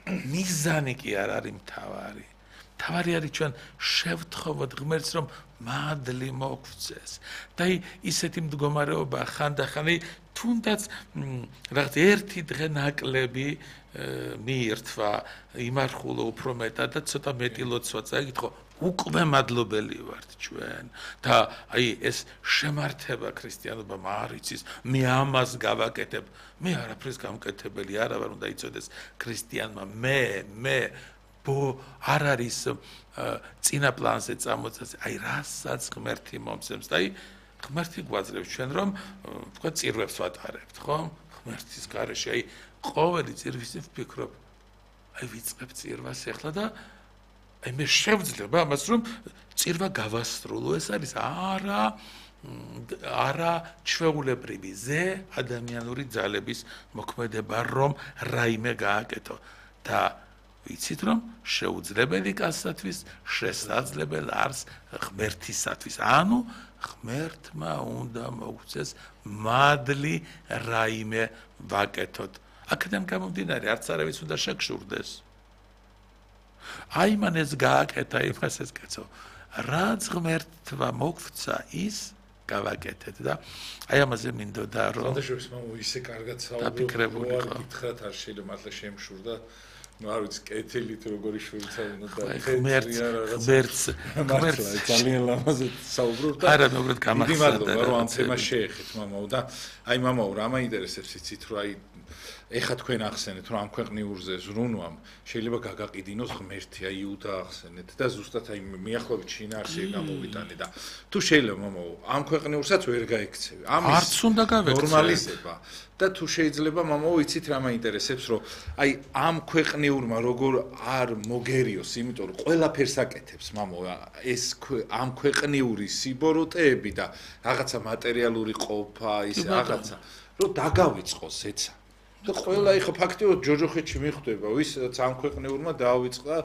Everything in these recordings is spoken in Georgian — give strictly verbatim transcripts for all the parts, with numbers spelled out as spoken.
მიზანი კი არ არის მთავარი. მთავარი არის ჩვენ შევთხოვოთ ღმერთს, რომ მადლი მოგვწეს. და ისეთი მდგომარეობა ხანდახან თუნდაც რაღაც ერთი დღე ნაკლები მიირთვა, იმარხულა უფრო მეტად და ცოტა მეტი ლოცვა წაიკითხო. უკვე მადლობელი ვართ ჩვენ და აი ეს შემართება ქრისტიანობამ არ იცის, მე ამას გავაკეთებ, მე არაფრის გამკეთებელი არა ვარ, უნდა იცოდეს ქრისტიანმა, მე მე ბო არ არის წინა პლანზე წამოწეს, აი რასაც ღმერთი მომცემს და აი ღმერთი გვაძლევს ჩვენ რომ თქვა წირვებს ვატარებთ, ხო? ღმერთის გარეშე, აი ყოველი წირვისი ვფიქრობ, აი ვიწყებ წირვას ახლა და აი მე შევძლებ ამას რომ წირვა გავასრულო, ეს არის არა არა ჩვეულებრივი ზე ადამიანური ძალების მოქმედება რომ რაიმე გააკეთო და ვიცით რომ შეუძლებელი კაცსათვის შესაძლებელი არის ღმერთისათვის, ანუ ღმერთმა უნდა მოგვწეს მადლი რაიმე ვაკეთოთ. აქედან გამომდინარე არც არავის უნდა შეგშურდეს. აი მან ეს გააკეთა, იმას ეს კაცო. რაც ღმერთმა მოგვცა, ის გავაკეთეთ და აი ამაზე მინდოდა რომ ხანდაშორის მამო ისე კარგად საუბრობ, რომ გითხრათ არ შეიძლება მართლა შემშურდა. ну არ ვიცი კეთილით როგორი შვიცა უნდა და ღმერთს ღმერთს ღმერთს ძალიან ლამაზად საუბრობ და არა მეგრად გამახსენდა რომ ამ თემას შეეხეთ მამაო და აი მამაო რა მაინტერესებს იცით რომ აი ეხა თქვენ ახსენეთ რომ ამ ქვეყნიურზე ზრუნვამ შეიძლება გაგაყიდინოს ღმერთი აი იუდა ახსენეთ და ზუსტად აი მიახლოებით შინაარსი გამოვიტანე და თუ შეიძლება მამაო ამ ქვეყნიურსაც ვერ გაიქცევი ამის არც უნდა გავექცევი ნორმალიზება და თუ შეიძლება მამაო იცით რა მაინტერესებს რომ აი ამ ქვეყნიურმა როგორ არ მოგერიოს იმიტომ რომ ყველაფერს აკეთებს მამაო ეს ამ ქვეყნიური სიბოროტეები და რაღაცა მატერიალური ყოფა ის რაღაცა რომ დაგავიწყოს ეცა და ყველა ეხა ფაქტიურად ჯოჯოხეთში მიხვდება ვისაც ამ ქვეყნიურმა დაავიწყდა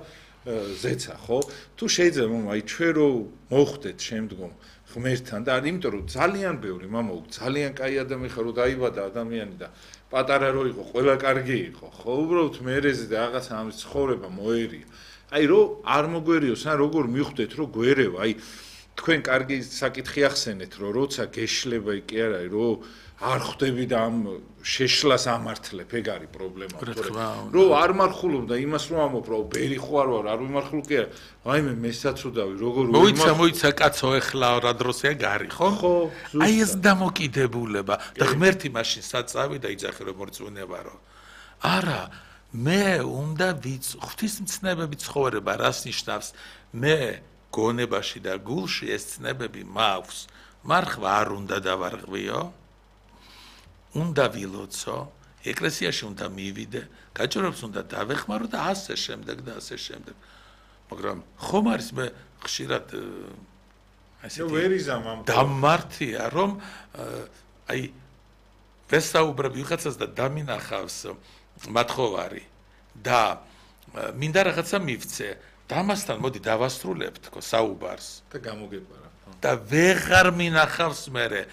ზეცა ხო თუ შეიძლება მამა აი ჩვენ რო მოხვდეთ შემდგომ ღმერთთან და იმიტომ რომ ძალიან ბევრი მამა ძალიან კაი ადამიანი ხარ რომ დაიბადა ადამიანი და პატარა რო იყო ყველა კარგი იყო ხო უბრალოდ მერეზე და რაღაცა ამის ცხოვრება მოერია აი რო არ მოგვერიოს ან როგორ მიხვდეთ რომ გვერევა აი თქვენ კარგი საკითხი ახსენეთ რომ როცა გეშლება კი არა რომ არ ხვდები და ამ შეშლას ამართლებ, ეგ არის პრობლემა, თორე რომ არ მარხულობ და იმას რომ ამობ, რომ ბერი ხო არ ვარ, არ ვიმარხულ კი არა. ვაიმე მესაცუდავი, როგორ მოიცა, მოიცა კაცო, ეხლა რა დროსია გარი, ხო? ხო, ზუსტად. აი ეს დამოკიდებულება და ღმერთი მაშინ საწავი და იძახი რომ მორწმუნება რო. არა, მე უნდა ვიც ღვთისმცნებები ცხოვრება რას ნიშნავს? მე გონებაში და გულში ეს ცნებები მაქვს. მარხვა არ უნდა დავარღვიო. უნდა ვილოცო, ეკლესიაში უნდა მივიდე, გაჭირვებს უნდა დავეხმარო და ასე შემდეგ და ასე შემდეგ. მაგრამ ხომ არის მე ხშირად ასე ვერ იზამ ამ დამმართია რომ აი ვესაუბრებ ვიღაცას და დამინახავს მათხოვარი და მინდა რაღაცა მივცე და ამასთან მოდი დავასრულებ თქო საუბარს და გამოგეპარა და ვეღარ მინახავს მერე